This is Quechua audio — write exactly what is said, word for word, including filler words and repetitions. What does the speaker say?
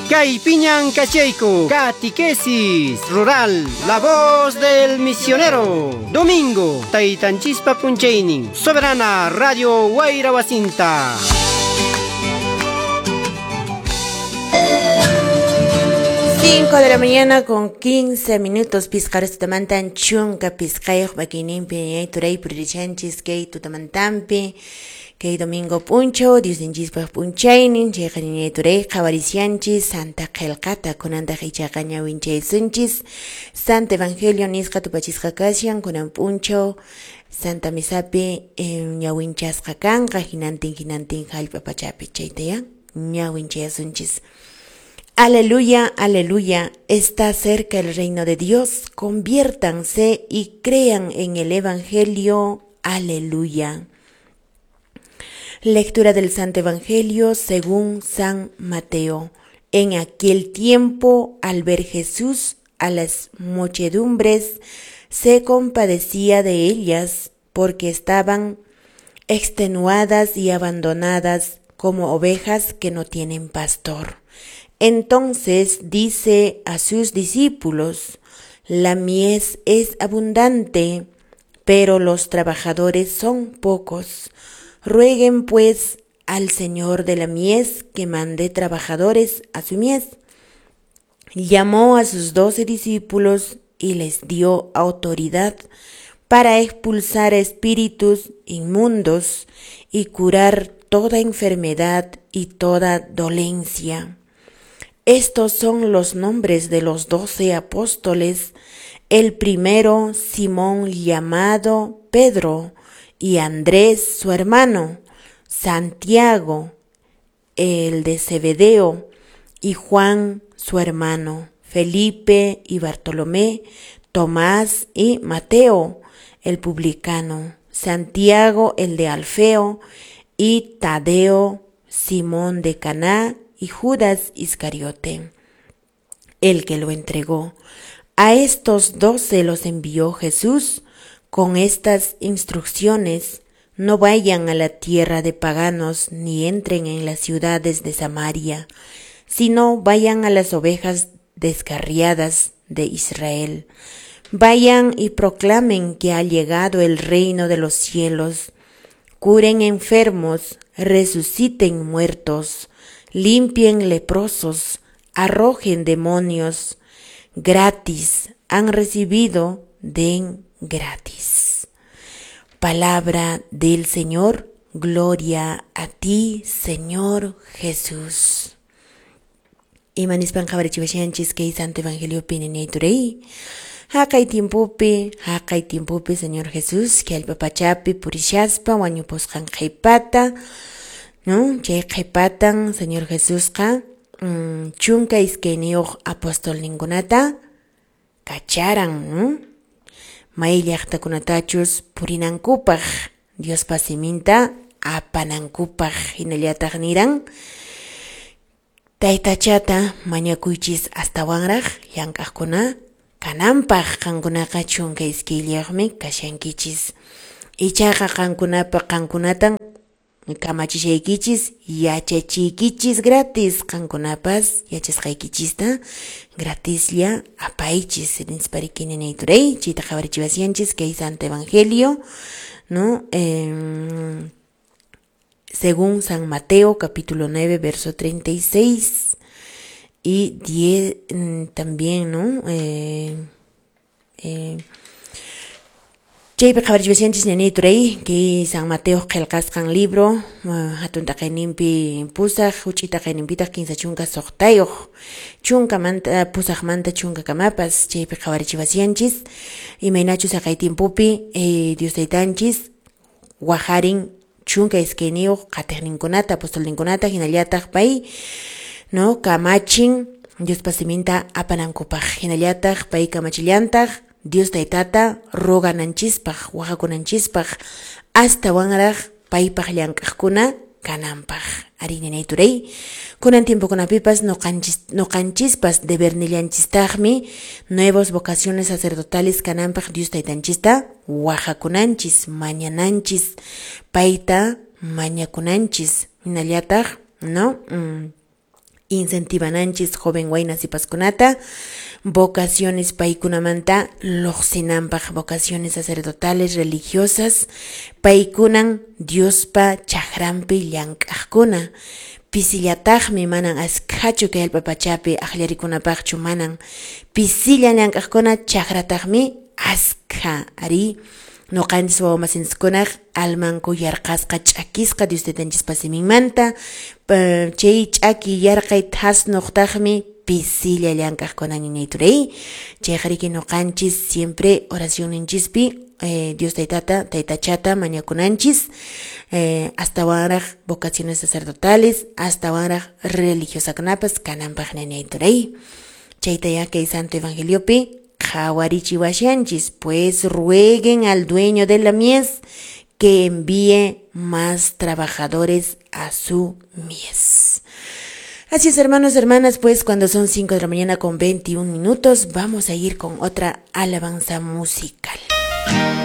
Kaypiñan kachayku, Catequesis Rural, la voz del misionero. Domingo, Taytanchispa p'unchaynin, Soberana Radio Wayra Wasinta. cinco de la mañana con quince minutos, pisqaros tutamantan chunka pisqayuq makininpi turay puririchanchis kay tutamantampi kay domingo p'unchaw Diosninchispaq p'unchaynin chayqa ñañay turay qhawarisianchis Santa Qillqata kunantaq ichaqa ñawinchaysunchis Santa Evangelio nisqa tupachisqa kashan kunan p'unchaw Santa Misapi ñawinchasqa kanqa hinantin hinantin hallp'a pachapi chayta ñawinchayasunchis. Aleluya, aleluya, está cerca el reino de Dios, conviértanse y crean en el Evangelio, aleluya. Lectura del Santo Evangelio según San Mateo. En aquel tiempo, al ver Jesús a las muchedumbres, se compadecía de ellas, porque estaban extenuadas y abandonadas como ovejas que no tienen pastor. Entonces dice a sus discípulos, la mies es abundante, pero los trabajadores son pocos. Rueguen pues al Señor de la mies que mande trabajadores a su mies. Llamó a sus doce discípulos y les dio autoridad para expulsar espíritus inmundos y curar toda enfermedad y toda dolencia. Estos son los nombres de los doce apóstoles. El primero, Simón llamado Pedro, y Andrés su hermano, Santiago, el de Zebedeo, y Juan su hermano, Felipe y Bartolomé, Tomás y Mateo, el publicano, Santiago el de Alfeo, y Tadeo, Simón de Caná, y Judas Iscariote, el que lo entregó. A estos doce los envió Jesús con estas instrucciones: no vayan a la tierra de paganos ni entren en las ciudades de Samaria, sino vayan a las ovejas descarriadas de Israel. Vayan y proclamen que ha llegado el reino de los cielos. Curen enfermos, resuciten muertos, limpien leprosos, arrojen demonios. Gratis han recibido, den gratis. Palabra del Señor, gloria a ti, Señor Jesús. Imanispan qhawarichiwashanchis kay Santo Evangelio pininayturey. Haqay tiempopi, haqay tiempopi, Señor Jesús, kay allpa pachapi purishaspa wañupusqan qhipata, ¿no? Chay qhipatan Señor Jesusqa mm, chunka iskayniyuq apostolninkunata kacharan, ¿no? May llaqtakunatachus purinankupaq, Diospa siminta apanankupaq, hinallataq niran taytachata mañakuychis astawanraq llank'aqkuna kananpaq, qankunaqa chunka iskayllayuqmi kashankichis. Ichaqa qankunapa qankunatan kamachishaykichis, yachachiykichis gratis, qankunapas yachasqaykichista gratislla apaychis. Nispariki ninayturay, chayta qhawarichiwasyanchis kay Santo Evangelio, ¿no? Eh, según San Mateo, capítulo nueve, verso treinta y seis y diez también, ¿no? Eh, eh, Chaypi qhawarichiwasyanchis ñañayturay kay San Mateo qillqasqan libro, hatun taqayninpi pusaq, huch'i taqayninpitaq kinsa chunka suqtayuq, chunkamanta pusaqmanta chunka kamapas. Chaypi qhawarichiwasyanchis imaynachus haqay tiempopi eh, Dios taytanchis wajarin chunka iskayniyuq qatiqninkunata, apostolninkunata, hinallataq pay, no, kamachin Diospa siminta apanankupaq, hinallataq pay kamachillantaq Dios taytata rogananchispaq, wajakunanchispaq, astawanraq paypaq llank'aqkuna kananpaq. Ari ñañayturay, kunan tiempokunapipas noqanchis, noqanchispas debernillanchistaqmi nuevas vocaciones sacerdotales kananpaq Dios taytanchista wajakunanchis, mañananchis, payta mañakunanchis, hinallataq, ¿no? Mm. Incentivananchis joven wayna sipaskunata vocaciones paykunamanta lluqsinanpaq, vocaciones sacerdotales, religiosas, paykunan Diospa chakranpi llank'aqkuna. Pisillataqmi, manan askhachu kay allpa pachapi aqllarikunapaqchu, manan pisilla llank'aqkuna, chakrataqmi askha. Ari nuqanchis wawamasinchikkunaq almanku yarqasqa, ch'akisqa Dios taytanchispa siminmanta, chay ch'aki yarqay thasnuqtaqmi pisilla llank'aqkuna, ñañay turay. Chayqa nuqanchis siempre oracionninchispi eh, Dios taytata, taytachata mañakunanchis, eh, astawanraq vocaciones sacerdotales, astawanraq religiosakunapas kananpaq, ñañay turay. Chayta ya kay Santo Evangeliopi qhawarichiwashanchis, pues rueguen al dueño de la mies que envíe más trabajadores a su mies. Así es, hermanos, hermanas, pues cuando son cinco de la mañana con veintiún minutos, vamos a ir con otra alabanza musical.